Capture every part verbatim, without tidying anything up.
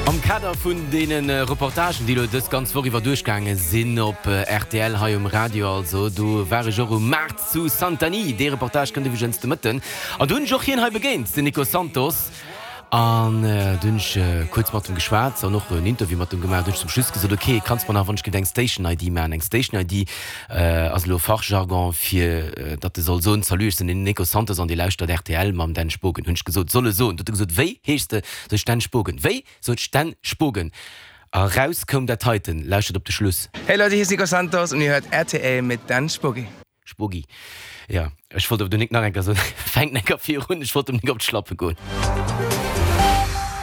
Am Kader vun deene Reportagen, déi elo dës ganz Woch iwwer duerchgaange sinn op rtl hei um Radio, also do war ech och um Maart zu Santanyí. Dee Reportage kënnt iwwregens de Mëtten. An do hunn ech och hien hei begéint, den Nico Santos. An do hunn ech kuerz mat em geschwat an och en Interview mat em gemaach. Do hunn ech zum Schluss gesot, ok, kanns mer nach wann ech giff eng Station I D maachen. Eng Station I D ass elo Fachjargon fir datt e soll soen, Salut, ech sinn den Nico Santos an Dir lauschtert rtl mam Dan Spogen. Hunn ech gesot, soll e soen. Do huet e gesot, wéi heeschs de? Sot ech, Dan Spogen. Wéi? Sot ech, Dan Spogen. A raus koum dat heiten. Lauschtert op de Schluss. Hey Leute, hier ist Nico Santos und ihr hört rtl mit Dan Spogi. Spogi. Jo, ech wollt awer do nik nach eng Kéier soen, fänkt eng Kéier virun, ech wollt em nik op d'Schlappe goen.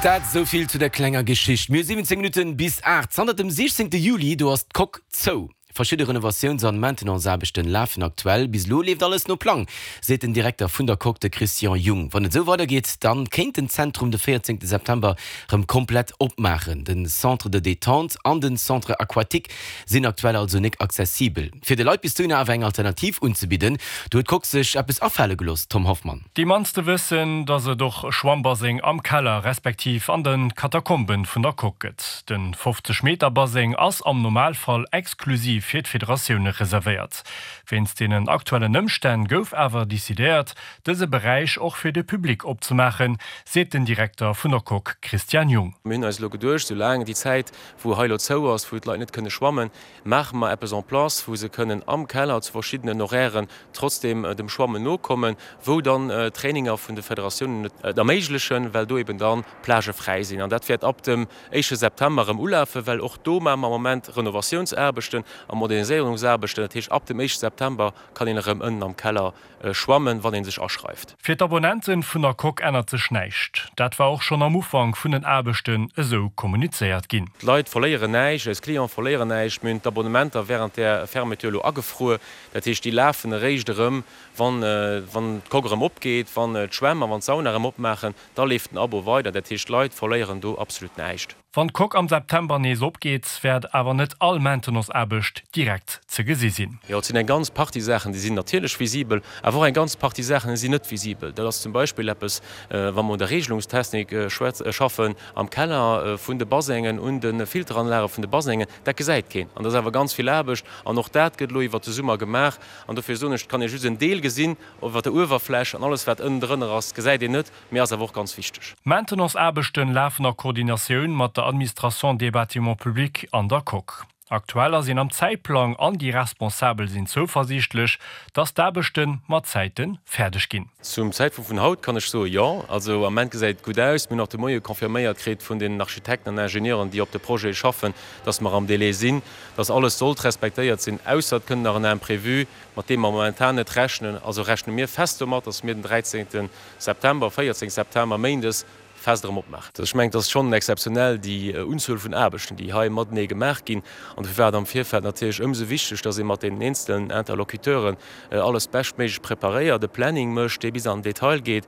Dat esou vill zu der klenger Geschicht. Mir hu siwwenzéng Minutten bis aacht. Zanter dem siechzéngte Juli, do ass d'Coque zou. Verschidde Renovatiouns an Maintenanceaarbechten lafen aktuell. Bis elo leeft alles no Plang, seet den Direkter vun der Coque, de Christian Jung. Wann et esou weidergeet, dann kéint den Zentrum de véierzéngte September rëm komplett opmaachen. Den Centre de détente an den Centre aquatique sinn aktuell also nik accessibel. Fir de Leit bis dohinner awer eng Alternativ unzebidden, do huet d'Coque sech eppes afale gelooss, Tom Hoffmann. Déi mannste wëssen, dass et och e Schwammbaseng am Keller respektiv an de Katakomben vun der Coque gëtt. De fofzeg Meter Baseng ass am Normalfall exklusiv fir d'Federatioune reservéiert. Wéinst deenen aktuellen Ëmstänn gouf awer decidéiert, dëse Beräich och fir de Public opzemaachen, seet den Direkter vun der Coque Christian Jung. Mir hunn eis elo geduecht, sou laang déi Zäit, wou hei elo zou ass, wou d'Leit net kënne schwammen, maache mer eppes en place, wou se kënnen am Keller zu verschiddenen Horairen trotzdeem dem Schwammen nokommen, wou dann d'Traininger vun de Federatiounen et erméiglechen, well do eben dann Plagë fräi sinn. An dat wäert ab dem éischte September erëm ulafen, well och do maache mer am Moment Renovatiounsaarbechten a Moderniséierungsaarbechten. Dat heescht, ab dem éischte September kann een erëm ënnen am Keller schwammen, wann ee sech aschreift. Fir d'Abonnente vun der Coque ännert sech näischt. Dat war och schonn am Ufank vun den Aarbechten esou kommunizéiert ginn. D'Leit verléieren näischt, eis Cliente verléieren näischt. Mir hunn d'Abonnementer wärend där Fermeture elo agefruer. Dat heescht, déi lafen eréischt erëm, wann d'Coque erëm opgeet, wann d'Schwämm a wann d'Sauna erëm opmaachen. Da leeft den Abo weider. Dat heescht, d'Leit verléieren do absolut näischt. Wann d'Coque am September nees opgeet, wäert awer net all Maintenance-Aarbecht direkt ze gesi sinn. Jo, et sinn eng ganz Partie Saachen, déi sinn natierlech visibel, awer och eng ganz Partie Saachen, déi sinn net visibel. Dat ass zum Beispill eppes, wa mer un der Regelungstechnik schaffen am Keller vun de Basengen, un de Filteranlage vun de Basengen, dat gesäit keen. An dat ass awer ganz vill Aarbecht an och dat gëtt elo iwwert de Summer gemaach. An dofir soen ech, et kann ee just en Deel gesinn iwwer der Uewerfläch an alles, wat ënnendrënner ass, gesäit een net, mee ass awer och ganz wichteg. D'Maintenance-Aarbechten lafen a Koordinatioun mat der Administration des bâtiments publics an der Coque. Aktuell ass een am Zäitplang an déi Responsabel sinn zouversiichtlech, dass d'Aarbechte mat Zäite fäerdeg ginn. Zum Zäitpunkt vun haut kann ech soe jo. Also am Ament gesäit et gutt aus. Mir hunn och de Moie confirméiert kritt vun den Architekten an Ingenieuren, déi op de Projet schaffen, dass mer am Délai sinn, dass alles sollt respektéiert sinn, ausser et kënnt nach en Imprévu, mat deem mer momentan net rechnen. Also rechne mir fest domat, dass mir den dräizéngte September, véierzéngte September, méindes, fest erëm opmaachen. Ech mengen, et ass schonn exzeptionell, déi Unzuel vun Aarbechten, déi hei matenee gemaach ginn. An dofir war et am Virfeld natierlech ëmsou wichteg, dass ee mat deenen eenzelen Interlocuteuren alles beschtméiglech preparéiert, e Planning mécht, dee bis an den Detail geet,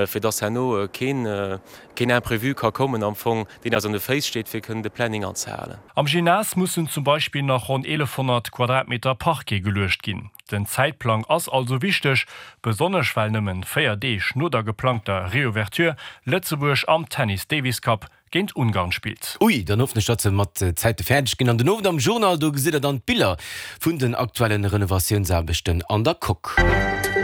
fir dass herno keen, keen Imprévu ka kommen am Fong, deen eis an de Féiss steet, fir kënnen de Planning anzehalen. Am Gymnase mussen zum Beispill nach ronn eelefhonnert Quadratmeter Parquet geluecht ginn. Den Zäitplang ass also wichteg, besonnesch well nëmmen véier Deeg no der geplangter Reouverture Lëtzebuerg am Tennis Davis Cup géint Ungarn spillt. Ui, dann hoffen ech datt se mat Zäite fäerdeg ginn. An den Owend am Journal, do gesitt der dann d'Biller vun den aktuellen Renovatiounsaarbechten an der Coque.